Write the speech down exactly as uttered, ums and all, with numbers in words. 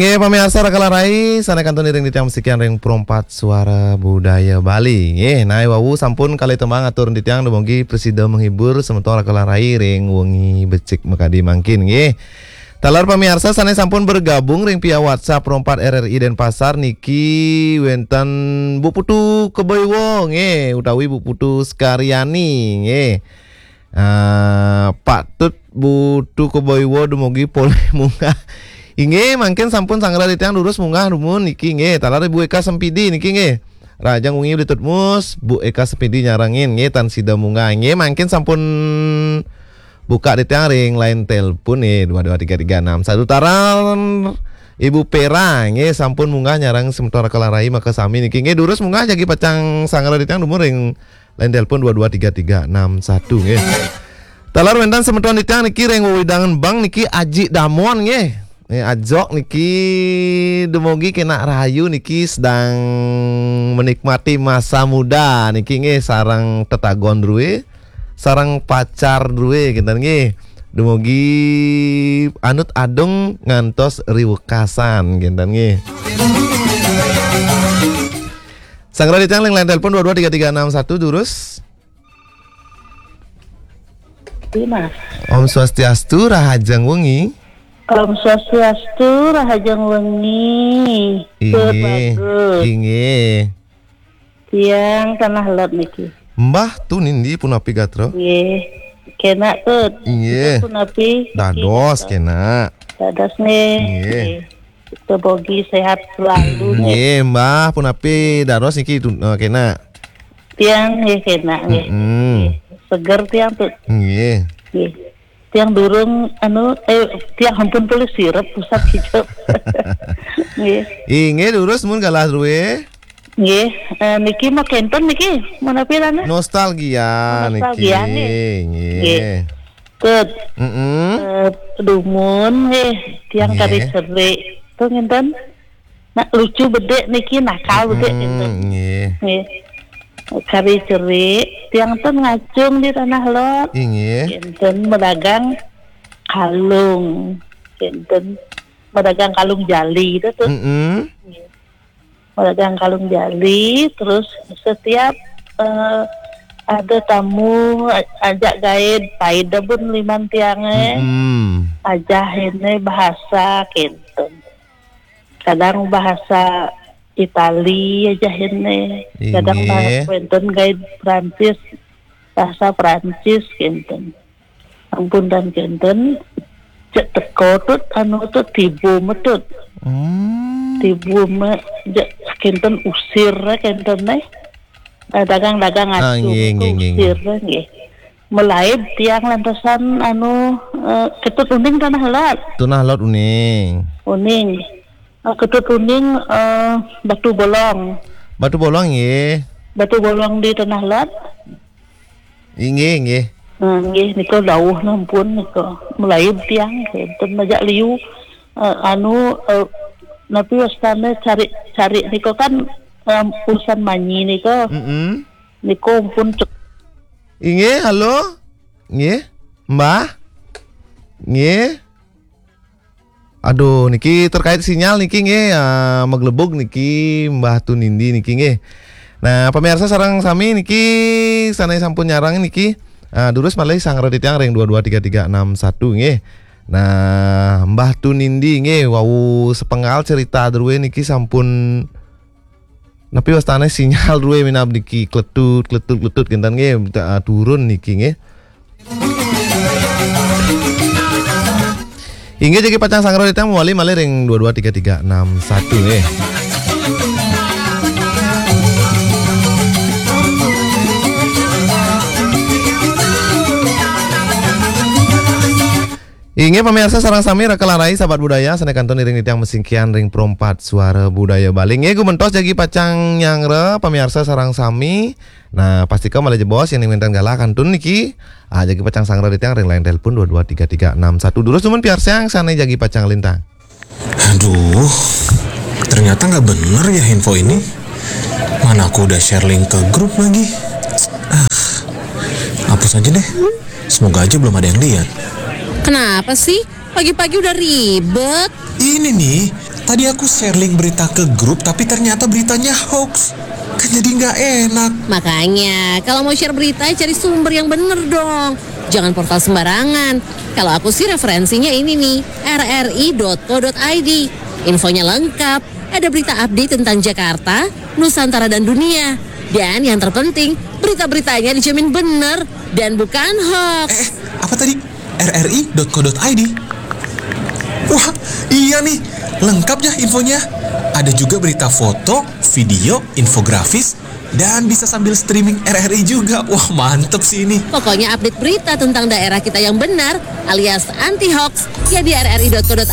Eh, pamiarsa Rakala Rai, sané kantun iring titiang masikian ring Perempat Suara Budaya Bali. Nggih, nah wau sampun kalih tembang atur titiang dumugi prasida menghibur semeton Rakala Rai ring wengi becik makadi mangkin nggih. Taler pamiarsa sané sampun bergabung ring via WhatsApp Perempat R R I Denpasar niki wénten Bu Putu Kebaiwa nggih utawi Bu Putu Sekariani nggih. Ah, patut Bu Putu Kebaiwa dumugi polih munggah. Inggih, mangkin sampun sanggra titiang durus munggah dumun niki nggih. Taler Ibu Eka Sempidi niki nggih. Rahajeng wengi Bli Tutmus, Bu Eka Sempidi nyarengin nggih tan sida munggah. Inggih, mangkin sampun buka titiang ring line telepon nggih dua dua tiga tiga enam satu. Taler Ibu Pera nggih sampun munggah nyarengin semeton Rakala Rai makasami niki nggih. Durus munggah jagi pacang sanggra titiang dumun ring line telepon dua dua tiga tiga enam satu nggih. Taler wénten semeton titiang niki ring wewidangan Bang niki Aji Damon nggih. Nggih, ajak niki dumugi kenak rahayu niki sedang menikmati masa muda niki nggih sareng tetagon drué, sareng pacar drué kinten nggih. Dumugi anut adung ngantos riwekasan kinten nggih. Sanggra titiang ring line telepon dua dua tiga tiga enam satu durus. Iya, Mas. Om Swastiastu, rahajeng wengi. Om Swastiastu, rahajeng wengi. Inggih. Bagus. Inggih. Tiang Tanah Lot niki. Mbah Tunindi punapi gatra? Nggih. Kenak, Tut. Inggih. Punapi? Dados kenak. Dados nggih. Nggih. Nggih. Kita bogi sehat selalu nggih. Nggih, Mbah punapi dados niki tu, eh, kenak. Tiang nggih kenak nggih. Mm-mm. Nggih. Seger tiang, Tut. Nggih. Nggih. Tiang durung anu eh tiang ampun tulis sirep pusat hijau. Nggih. Inggih, durus mun galah drué. Nggih, eh, niki mah kenten niki, punapi rana? Nostalgia niki. Nostalgia nih. Nggih. Nggih. Tut. Mm-mm. Eh, dumun nggih, tiang nggih. Kari cerik. Tuh ngenten. Nah, lucu bedé niki, nakal bedé ngenten. Mm-mm, nggih. Nggih. Kari cerik, tiang ten ngacung di Tanah Lot. Inggih. Ngenten madagang kalung. Ngenten madagang kalung jali itu tuh. Mm-mm. Nggih. Madagang kalung jali, terus setiap eh, ada tamu a- ajak gaé, pai da bun liman tiangé. Mm-mm. Ajah ini bahasa kenten. Kadang bahasa Itali ajah ini. Kadang inggih. Bahasa kenten gaé Prancis, bahasa Prancis kenten. Ampun tan kenten. Cek teko, Tut, anu, Tut, tibu metut. Hmm. Tibu me, cek kenten usir, kenten, eh. Eh, dagang-dagang ah, acung nggih, nggih, nggih, nggih. Usir, nggih. Melaib tiang lantasan, anu, eh, Ketut Uning Tanah Lot. Tanah Lot Uning. Uning. Eh, Ketut Uning, eh, Batu Bolong. Batu Bolong, nggih. Batu Bolong di Tanah Lot. Inggih, inggih. Nah, nggih, nika dawuh nampun nika. Melaib tiang, kenten majak liu. Eh, anu, eh, napi wastane cari, cari nika kan, em, urusan manyi nika. Mm-mm. Nika pun cek. Inggih, halo? Nggih, Mbah? Nggih. Aduh, niki terkait sinyal niki nggih, ah, maglebug niki Mbah Tunindi niki nggih. Nah, pemirsa sareng sami niki sané sampun nyarengin niki, ah, durus malih sanggra titiang ring dua dua tiga tiga enam satu nggih. Nah, Mbah Tunindi nggih wau sepenggal cerita drué niki sampun napi wastane sinyal drué minab niki kletut, kletut, kletut kinten nggih, ah, turun niki nggih. Inggih jagi pacang sanggra titiang mawali malih ring dua dua tiga tiga enam satu nggih. Inggih pamirsa sareng sami Rakala Rai sahabat budaya sané kantun iring titiang masingkian ring Perempat Suara Budaya Bali. Inggih gumentos jagi pacang nyanggra pamirsa sareng sami. Nah, pastika malih jebos yén wénten galah kantun niki. Ah, jagi pacang sanggra titiang ring line telepon dua dua tiga tiga enam satu. Durus dumun piarsang sané jagi pacang lintang. Aduh, ternyata nggak bener ya info ini. Mana aku udah share link ke grup lagi. Ah, hapus aja deh. Semoga aja belum ada yang lihat. Kenapa sih? Pagi-pagi udah ribet. Ini nih, Tadi aku share link berita ke grup, tapi ternyata beritanya hoax. Kan jadi nggak enak. Makanya, kalau mau share berita, cari sumber yang bener dong. Jangan portal sembarangan. Kalau aku sih referensinya ini nih, rri.co.id. Infonya lengkap, ada berita update tentang Jakarta, Nusantara dan dunia. Dan yang terpenting, berita-beritanya dijamin bener dan bukan hoax. Eh, apa tadi? rri.co.id. Wah, iya nih, lengkap ya infonya. Ada juga berita foto, video, infografis, dan bisa sambil streaming RRI juga. Wah, mantep sih ini. Pokoknya update berita tentang daerah kita yang benar alias anti hoax ya di rri.co.id.